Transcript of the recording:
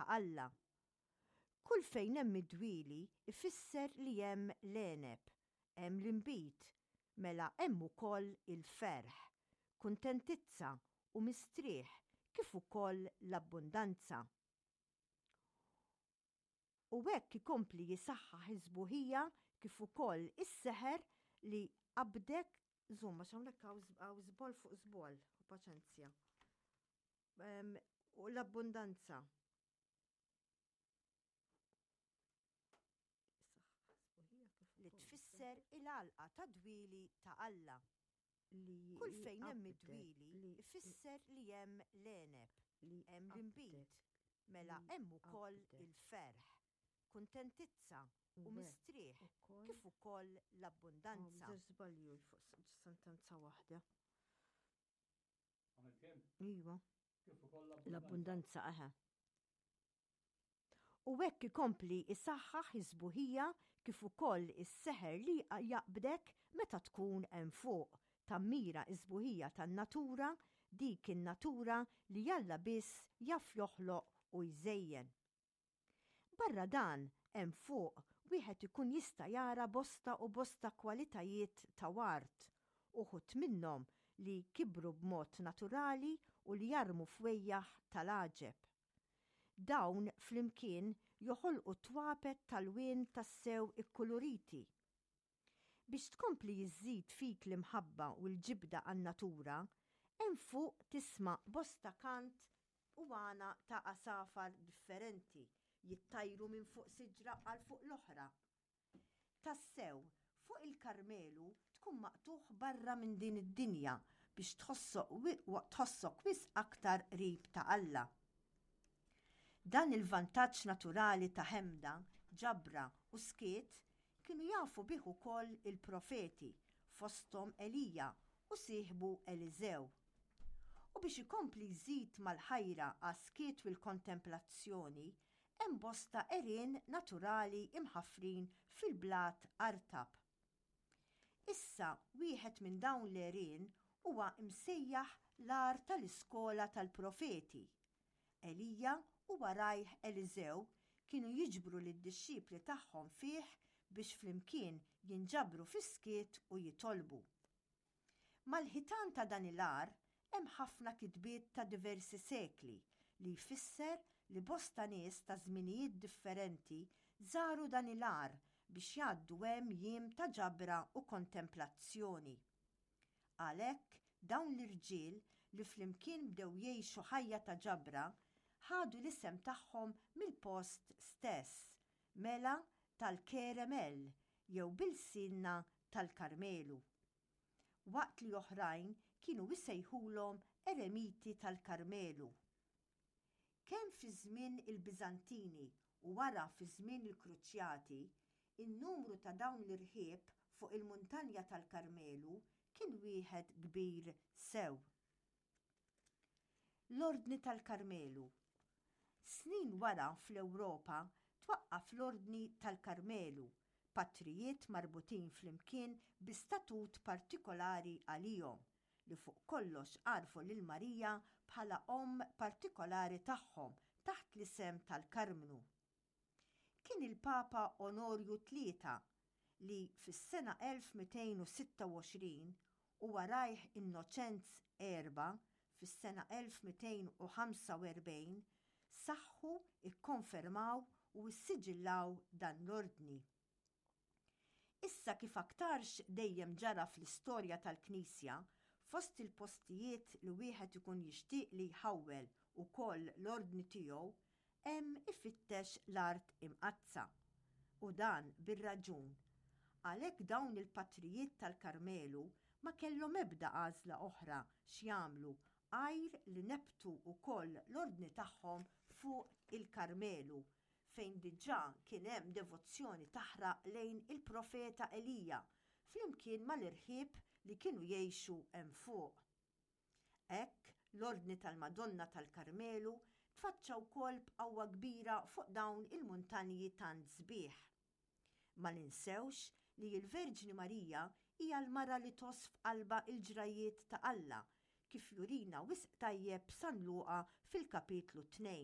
ta' Alla. Kull fejn hemm id-dwieli ifisser li hemm l-għeneb, hemm l-inbid, mela hemm ukoll il-ferħ, kuntentizza u mistrieħ kif ukoll l-abbundanza. U hekk ikompli jisaħħaħ is-sbuħija kif ukoll is-seħer li qabdek Żomm, għax hawnhekk hawn żboll fuq żboll, paċenzja. U l-abbundanza. Li tfisser il-għalqa ta' dwieli ta' Alla. Li Kull fejn hemm qabdek, id-dwieli li ifisser li hemm l-għeneb, li hemm qabdek, l-inbid, mela li hemm ukoll qabdek. il-ferħ, kuntentizza U u hekk mistrieħ ukoll kif ukoll Hawn l-abbundanza. żewġ żbalji fuq sentenza waħda. Għamilt kemm? Iva. Kif ukoll l-abbundanza. L-abbundanza, eħe. U hekk ikompli jsaħħaħ is-sbuħija kif ukoll is-seħer li jaqbdek meta tkun hemm fuq, tammira s-sbuħija tan-natura, dik in-natura li Alla biss jaf joħloq u jżejjen. Barra dan, hemm fuq, wieħed ikun jista' jara bosta u bosta kwalitajiet ta' ward, uħud minnhom li kibru b'mod naturali u li jarmu fwejjaħ tal-għaġeb. Dawn flimkien joħolqu twapet ta' lwien tassew ikkuluriti. Biex tkompli iżżid fik l-imħabba u l-ġibda għan-natura, hemm fuq tisma' bosta kant u għana ta' għasafar differenti jittajru minn fuq siġra għal fuq l-oħra. Tassew, fuq il-Karmelu tkun maqtugħ barra minn din id-dinja biex tħossok wisq aktar qrib ta' Alla. Dan il-vantaġġ naturali ta' ħemda, ġabra u skiet kienu jafu bih ukoll il-profeti, fosthom Elija u sieħbu Eliżew. U biex ikompli jżid mal-ħajra għas-skiet u l-kontemplazzjoni, Hemm bosta għerien naturali imħaffrin fil-blat artab. Issa wieħed minn dawn l-għerien huwa msejjaħ l-Għar tal-Iskola tal-Profeti. Elija u warajh Eliżew kienu jiġbru lid-dixxipli tagħhom fih biex flimkien jinġabru fis-skiet u jitolbu. Mal-ħitan ta' dan il-għar hemm ħafna kitbiet ta' diversi sekli li jfisser li bosta nies ta' żminijiet differenti żaru dan il-għar biex jgħaddu hemm jiem ta' ġabra u kontemplazzjoni. Għalhekk dawn l-irġiel li flimkien bdew jgħixu ħajja ta' ġabra ħadu l-isem tagħhom mill-post stess, mela tal-Keremel jew b'ilsienna tal-Karmelu. Waqt li oħrajn kienu jsejħulhom eremiti tal-Karmelu. Kemm fi żmien il-Biżantini u wara fi żmien il-Kruċjati, in-numru ta' dawn l-irħieb fuq il-muntanja tal-Karmelu kien wieħed kbir sew. L-Ordni tal-Karmelu. Snin wara fl-Ewropa twaqqaf l-Ordni tal-Karmelu, patrijiet marbutin flimkien bi statut partikolari għalihom, li fuq kollox għarfu lil Marija bħala omm partikolari tagħhom taħt l-isem tal-Karmnu. Kien il-Papa Onorju Tlieta li fis-sena 1226 u warajh Innoċenz Erba' fis-sena 1245 saħħu, ikkonfermaw u ssiġillaw dan l-ordni. Issa kif aktarx dejjem ġara fl-istorja tal-Knisja, fost il-postijiet li wieħed ikun jixtieq li jħawwel ukoll l-ordni tiegħu hemm ifittex l-Art Imqaddsa. U dan bir-raġun. Għalhekk dawn il-patrijiet tal-Karmelu ma kellhom ebda għażla oħra x'jagħmlu għajr li nebbtu wkoll l-ordni tagħhom fuq il-Karmelu fejn diġà kien hemm devozzjoni taħraq lejn il-profeta Elija flimkien mal-irħieb li kienu jgħixu hemm fuq. Hekk, l-Ordni tal-Madonna tal-Karmelu tfaċċa wkoll b'qawwa kbira fuq dawn il-muntanji tant sbieħ. Ma ninsewx li l-Verġni Marija hija l-mara li tgħożż f'qalbha l-ġrajjiet ta' Alla, kif jurina wisq tajjeb San Luqa fil-kapitlu 2.